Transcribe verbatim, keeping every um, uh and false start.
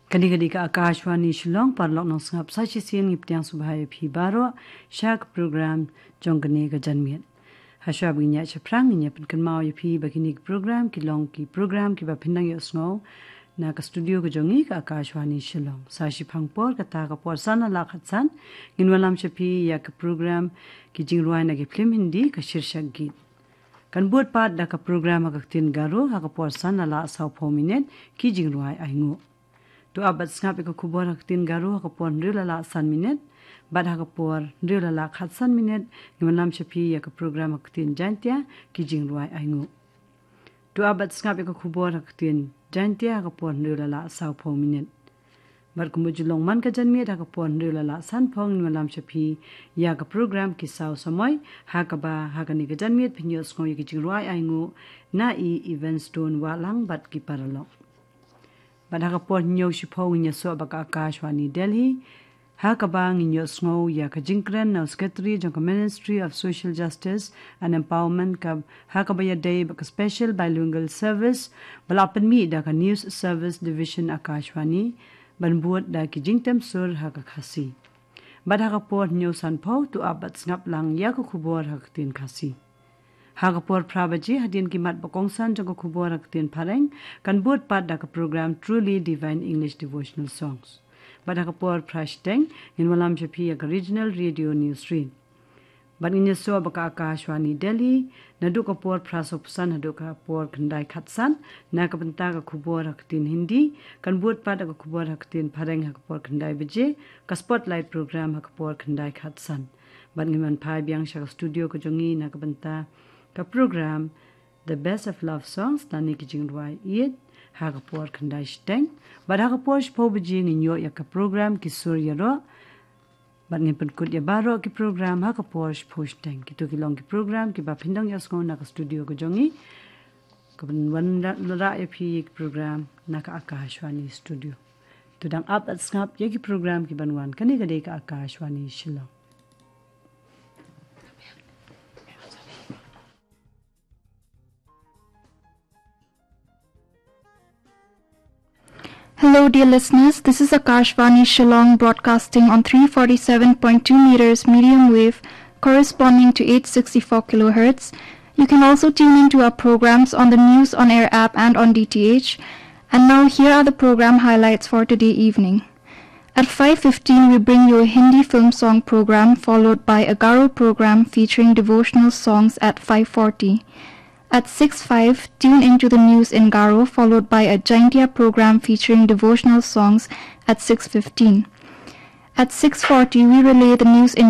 Kane ka dei ka Akashvani Shillong, paralok nongsngap, sa shisien ngi pdiang sngewbha ïa phi baroh sha ka program jong kane ka janmiet. Hashwa ba ngin ïaid shaphrang, ngin ïa pynkynmaw ïa phi ba kine ki program ki long ki program kiba phin dang ïohsngew na ka studio ka jong ngi ka Akashvani Shillong. Sa shiphang por, kata ka por san la khatsan, ngin wallam sha phi ïa ka program ki jingrwai na ki phlim Hindi, ka Shirshak Geet. Kan bud pat da ka program ha ka ktien Garo ha ka por san la sawphew minit, ki jingrwai ainguh. To ap bad sngap ïa ka khubor ha ka ktien Garo ha ka por hynriew la san minit, bad ha ka por hynriew la khatsan minit, ngin wallam sha phi ïa ka program ha ka ktien Jaintia, ki jingrwai ainguh. To ap bad sngap ïa ka khubor ha ka ktien Jaintia ha ka por hynriew la sawphew minit. Bad kumba ju long man ka janmiet, ha ka por hynriew la sanphew ngin wallam sha phi ïa ka program Ki Saw Samoi, ha kaba ha kane ka janmiet phin ïohsngew ïa ki jingrwai ainguh na i Evanstone Wahlang bad ki paralok. Bad ha ka por hynñiew shiphew ngin ïasoh bad ka Akashvani Delhi, ha kaba ngin ïohsngew ïa ka jingkren na u Secretary jong ka Ministry of Social Justice and Empowerment, ka ha kaba ïadei bad ka Special Bilingual Service ba la pynmih da ka News Service Division Akashvani, ban bud da ki jingtem sur ha ka Khasi. Bad ha ka por hynñiew sanphew to ap bad sngap lang ïa ka khubor ha ka ktien Khasi. Ha ka por phra baje, hadien ki mat ba kongsan jong ka khubor ha ka ktien Phareng, kan bud pat da ka program Truly Divine English Devotional Songs. Bad ha ka por phra shiteng ngin wallam sha phi ïa ka Regional Radio News Read. Bad ngin ïasoh bad ka Akashvani Delhi, naduh ka por phra sawphew san haduh ka por khyndai khatsan, na ka bynta ka khubor ha ka ktien Hindi, kan bud pat da ka khubor ha ka ktien Phareng ha ka por khyndai baje, ka Spotlight program ha ka por khyndai khatsan. Bad ngin wan phai biang sha ka studio ka jong ngi na ka bynta ka program The Best of Love Songs, lane ki jingrwai ïeit, ha ka por khyndai shiteng. Bad ha ka por shiphew baje ngin ïoh ïa ka program Ki Sur Ïaroh. Bad ngin pynkut ïa baroh ki program ha ka por shiphew shiteng. Kito ki long ki program kiba phin dang ïohsngew na ka studio ka jong ngi, kaban wanrah ïa phi ki program na ka Akashvani studio. To dang ap bad sngap ïa ki program kiban wan. Kane ka dei ka Akashvani Shillong. Hello, dear listeners. This is Akashvani Shillong, broadcasting on three forty-seven point two meters medium wave, corresponding to eight sixty-four kilohertz. You can also tune in to our programs on the News on Air app and on D T H. And now, here are the program highlights for today evening. At five fifteen, we bring you a Hindi film song program, followed by a Garo program featuring devotional songs at five forty. At six five, tune into the news in Garo, followed by a Jaintia program featuring devotional songs at six fifteen. At six forty, we relay the news in